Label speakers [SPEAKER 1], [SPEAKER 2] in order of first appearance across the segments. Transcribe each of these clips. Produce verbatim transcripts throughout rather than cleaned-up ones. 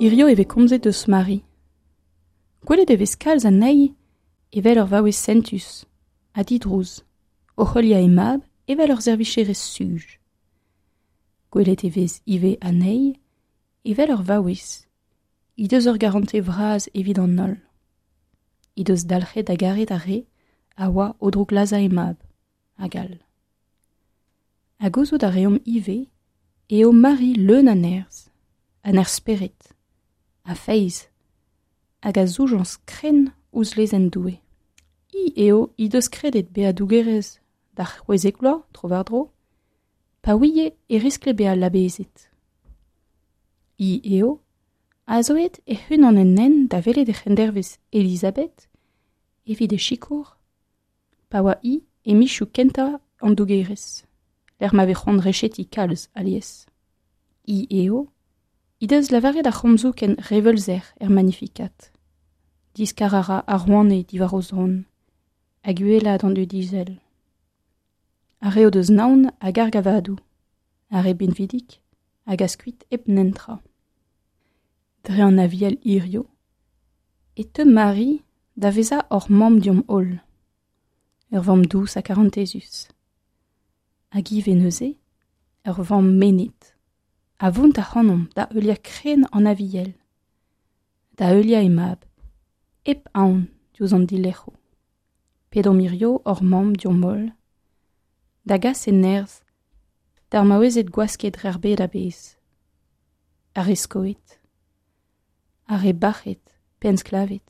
[SPEAKER 1] Hirio e vez komzet eus Mari. Gwelet e vez kalz anezhi evel ur vaouez sentus, ha didrouz, o heuliañ he mab evel ur servijerez suj. Gwelet e vez ivez anezhi evel ur vaouez, he deus ur garantez vras evit an holl. He deus dalc'het da garet ar re a oa o drouklazhañ he mab, hag all. Ha gouzout a reomp ivez eo Mari leun a nerzh, a nerzh spered, a feiz, hag a zoujañs krenn ouzh lezenn Doue. Hi eo he deus kredet bezañ dougerez d'ar c'hwezek vloaz tro-war-dro, pa ouie e riskle bezañ labezet. Hi eo a zo aet hec'h-unan en hent da welet he c'hendervez Elisabeth evit he sikour, pa oa hi e mizioù kentañ an dougerez, lec'h ma vez c'hoant rechetiñ kalz alies. Hi eo he deus lavaret ar c'homzoù ken reveulzer er Magnificat. Diskar a ra ar rouaned diwar o zron, hag uhelaat an dud izel. Ar re o deus naon a garg a vadoù, ar re binvidik a gas kuit hep netra. Dre an Aviel hirio, e teu Mari da vezañ hor mamm deomp-holl, ur vamm dous ha karantezus. Hag ivez neuze, ur vamm mennet, a vount ac'hanomp da heuliañ krenn an Aviel, da heuliañ he mab, hep aon diouzh an dilerc'hoù. Pedomp hirio hor mamm deomp-holl, da gas he nerzh d'ar maouezed gwasket dre ar bed a-bezh, ar re skoet, ar re bac'het pe ensklaved,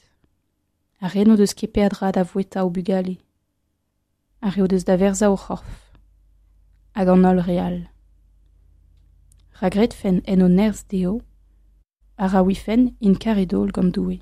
[SPEAKER 1] ar re n'o deus ket peadra da voueta o bugale, ar re o deus da werzhañ o c'horf, hag an holl re all. Ra gredfent en o nerzh dezho, ha ra ouifent int karet-holl gant Doue.